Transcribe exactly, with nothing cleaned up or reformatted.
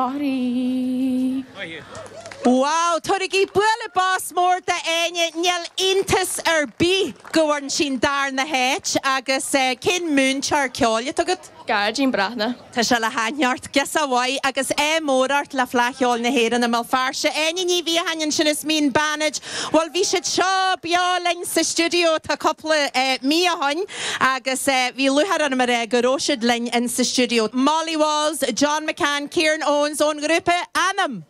Sorry. Wow, Tabhraigí bualadh bos mór d'Áine níl iontas ar bith go bhfuair sí an darna háit agus eh, cén múinteoir ceoil atá agat? Gearóidín Breathnach. Tá sé le haithneart gus a bhaid agus é mórart le Fleadh Cheoil na hÉireann i mBéal Feirste. Áine Ní Bhiathain sin is mín banid, Well bhí siad seo beo linn sa stiúideo tá cúpla eh, mí ó shin agus eh, bhí lúcháir orm a rá go raibh siad linn in sa stiúideo. Molly Walls, John McCann, Kieran Owens ón ngrúpa Anam.